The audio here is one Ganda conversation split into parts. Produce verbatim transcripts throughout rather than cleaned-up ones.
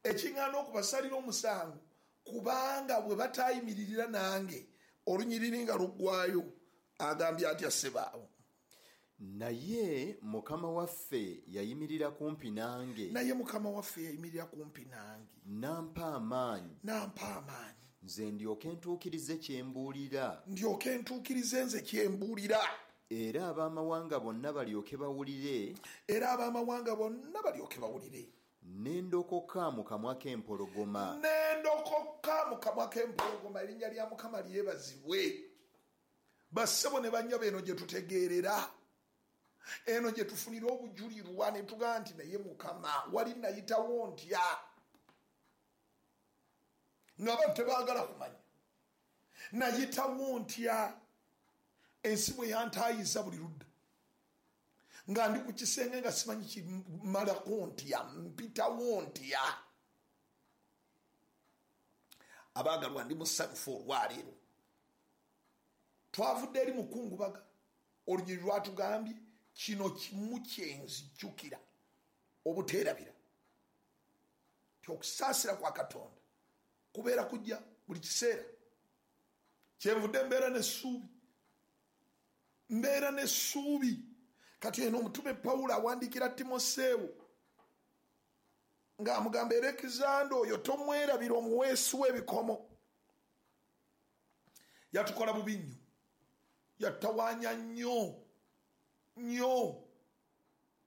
Ekiŋŋaana okubasalira omusango, kubanga bwe batayimiririra nange. Olunyiriri nga luggwayo agambye atya ssebaawo? Naye Mukama waffe yayimirira kumpi nange. Naye Mukama waffe yayimirira kumpi nange. Nampa amaanyi. Nampa amaanyi. Nze ndyoke ntuukirize kye mbuulira. Ndyoke ntuukirize nze kye mbuulira. Era ab'amawanga bonna balyoke bawulire. Era ab'amawanga bonna balyoke bawulire. Ne ndokoka mu kamwa k'empologoma. Ne ndokoka mu kamwa k'empologoma. Erinnya lya Mukama lyebazibwe. Bassebo ne bannyabo, eno gye tutegeerera, eno gye tufunira obujulirwa ne tugamba nti naye Mukama wali nayitawo ntya nga abantu tebaagala kumanya, nayitawo ntya ensi bwe yantaayiza buli ludda nga ndi ku kisenge nga simanyi kimalako ntya, mpitawo ntya. Abaagalwa, ndi musanyufu olwaleero. Twavudde eri mukungubaga, olunyiriri lwatugambye kino kimu kyenzijjukira obuteerabira ti okusaasira kwa Katonda kubeera kujja buli kiseera. Kyenvudde mbeera n'essuubi, mbeera n'essuubi. Kati eno omutume Pawulo awandiikira Timoseewo ng'amugamba, Alekizanda oyo tomwerabira, omuweesi w'ebikomo. Yatukola bubi nnyo, yatawaanya nnyo nnyo.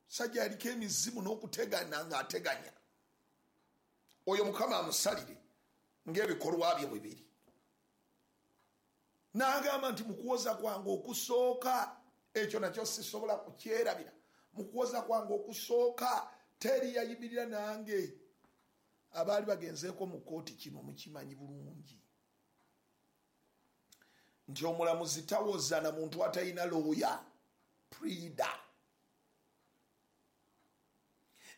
Sajja yaliko emizimu n'okutegana ng'ateganya. Oyo Mukama amusalire ng'ebikolwa bye bwe biri. N'agamba nti mu kuwoza kwange okusooka, ekyo nakyo sisobola kukyerabira, mu kuwoza kwange okusooka teri yayimirira nange. Abaali bagenzeeko mu kkooti kino mukimanyi bulungi nti omulamuzi tawoza na muntu atalina looya, prida.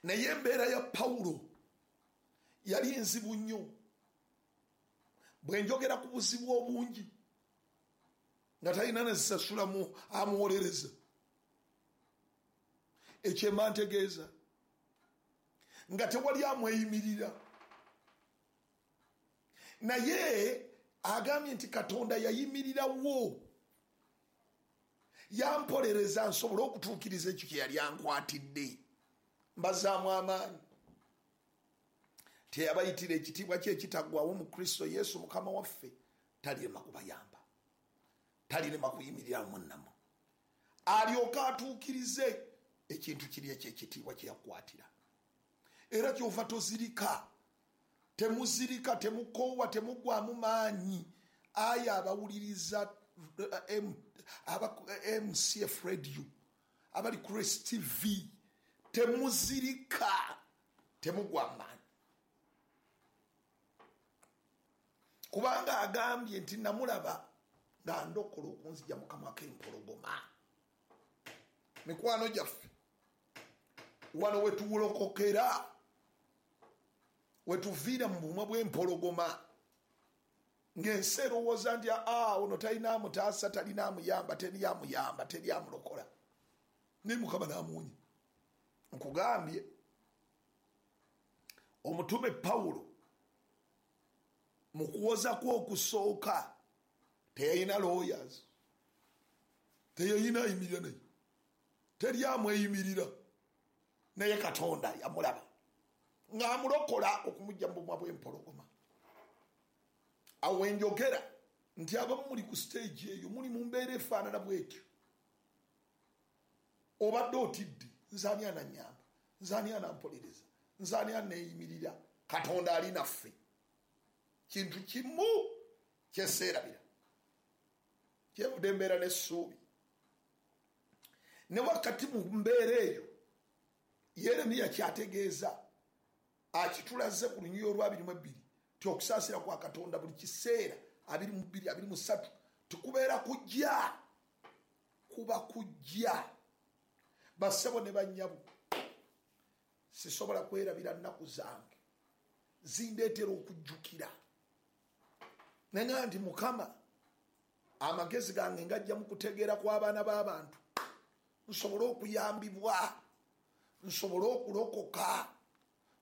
Naye embeera ya Pawulo yali nzibu nnyo. Bwe njogera ku buzibu obungi nga talina nezisasulamu amuwolereza, ekyemba ntegeeza nga tewali amweyimirira. Naye agambye nti Katonda yayimirirawo, yampolereza nsobole okutuukiriza ekyo kye yali ankwatidde. Mbazaamu amaanyi. Teyabayitira ekitiibwa kye ekitaggwawo mu Kristo Yesu Mukama waffe, talirema kubayamba, talirema kuyimirira munnamu, alyoke atuukirize ekintu kiri ekyekitiibwa kye yakwatira. Era kyova tozirika, temuzirika, temukoowa, temuggwamu maanyi. Aya abawuliriza M C F Radio, abali Christ T V, temuzirika, temugwa maanyi. Kubanga agambye nti namulaba nga ndokola okunzija mu kamwa k'empologoma. Mikwano gyaffe, wano wetuwulokokera, wetuviira mu bumwa bw'empologoma, ng'ensi erowooza nti aa ono talina amutaasa, talina amuyamba, teri amuyamba, teri amulokola. Naye Mukama n'amuwonya. Nkugambye omutume Pawulo mu kuwoza kwe okusooka teyalina lawyers, teyalina ayimirira naye, teri amweyimirira, naye Katonda yamulaba ng'amulokola okumujja mu bumwa bw'empologoma. Awo enjogera nti abamu muli ku stage eyo, muli mu mbeera efaanana bwetyo, obadde otidde, nze ani anannyamba, nze ani anampolereza, nze ani aneeyimirira. Katonda ali naffe. Kintu kimu kyeseerabira, kyenvudde embeera n'essuubi. Ne wakati mu mbeera eyo Yeremiya kyategeeza akitulaze ku lunyiriri olwa abiri mu ebbiri ti okusaasira kwa Katonda buli kiseera abiri mu bbiri abiri mu ssatu tikubeera kujja, kuba kujja. Bassebo ne bannyabo, sisobola kwerabira nnaku zange, zindeetera okujjukira. Naye nti Mukama, amagezi gange ngajja mu kutegeera kw'abaana b'abantu, nsobole okuyambibwa, nsobole okulokoka.